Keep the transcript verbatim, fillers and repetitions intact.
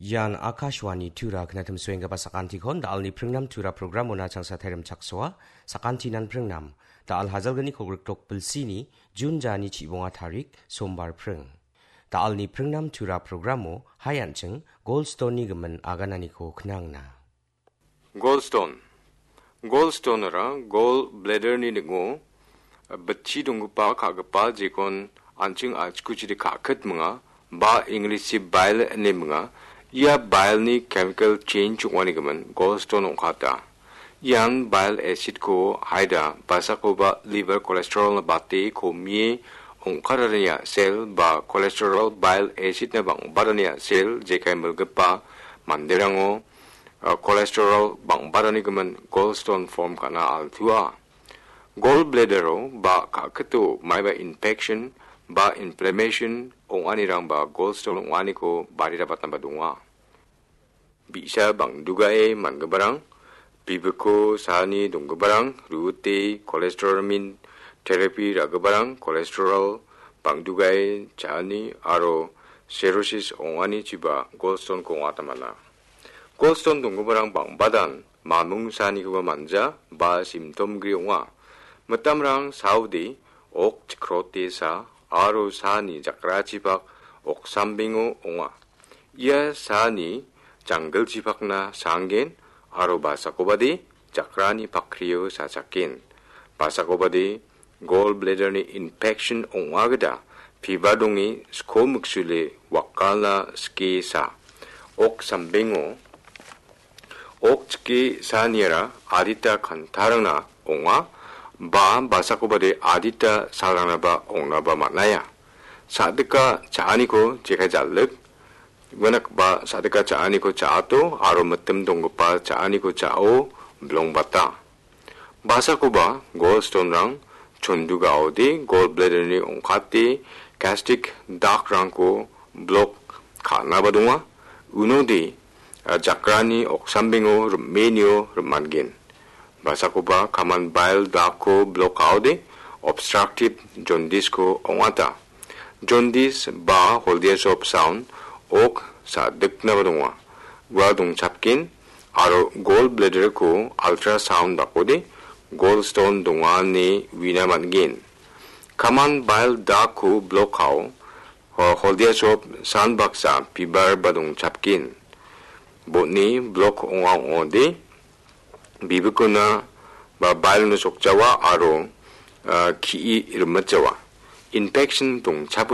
Ian Akashvani Tura knatim suenggipa sakantikon da·alni pringnam Tura programona changsa tairim chaksoa, sakantinan pringnam, da·al hajalgni kolgrikdok bilsini, Jun jani chibonga tarik, Sombar pring. Da·alni pringnam Tura programo, hai an·ching, Goldstone-ni gimin agananiko knangna. Goldstone. Goldstone-ara gall bladder-ni ning·o bitchi donggipa ka·gipa jekon an·ching a·chikuchide ka·kitminga, ba English-chi bile ine minga. Ia bile-ni chemical change ong·anigimin gallstone ong·kata. Ian bile acid-ko haida basakoba liver cholesterol-na bate komie ong·kararania sel ba cholesterol bile acid-na bang·barania sel jekai milgipa manderango, ah, cholesterol bang·baranigimin gallstone form ka·na altua. Gallbladder-o ba ka·kito maiba infection ba inflammation ong·anirangba gallstone ong·aniko barirabatnaba donga. Bi·sa bang·dugae man·giparang, bibiko saani donggiparang, ruote cholesterol min therapy ra·giparang, cholesterol bang·dugae cha·ani aro cirrhosis ong·anichiba gallstone-ko ong·atamana. Gallstone donggiparang bang·badan mamung saanikoba manja ba symptom gri ong·a. Mitamrang saode ok chikrote sa aro saani jakrachipak oksambengo ong·a. Ia saani janggilchipakna sanggen aro basakobade jakrani pakrio sachaken. Basakobade gallbladder-ni infection ong·a gita piba donge sko miksule wakalna skie sa. Ok sambengo ok chike saaniara adita kantarangna ong·a, ba basakobade adita salrangnaba ong·naba man·aia. Sa·dika cha·aniko jekai jal·lik, uanakba sa·dika cha·aniko cha·ato aro mitim donggipa cha·aniko cha·o bilongbata. Basakoba gallstone-rang chondugaode gallbladder-ni ong·kate gastric duct-rangko block ka·naba donga. Unode, ah, jakrani oksambengo rim·enio rim·angen. Basakoba common bile duct-ko block ka·ode obstructive jaundice-ko ong·ata. Jaundice ba holdia sop sound ok sa·diknaba donga. Ua dongchapgen aro gallbladder-ko ultrasound dakode gallstone donga ine uina man·gen. Common bile duct-ko block ka·o, ho-, holdia sop san baksa pibar ba dongchapgen. Botni block ong·a ong·ode, bibikona ba bile-no sokjawa aro, ah, ki·i rimitjawa. Infection dongchap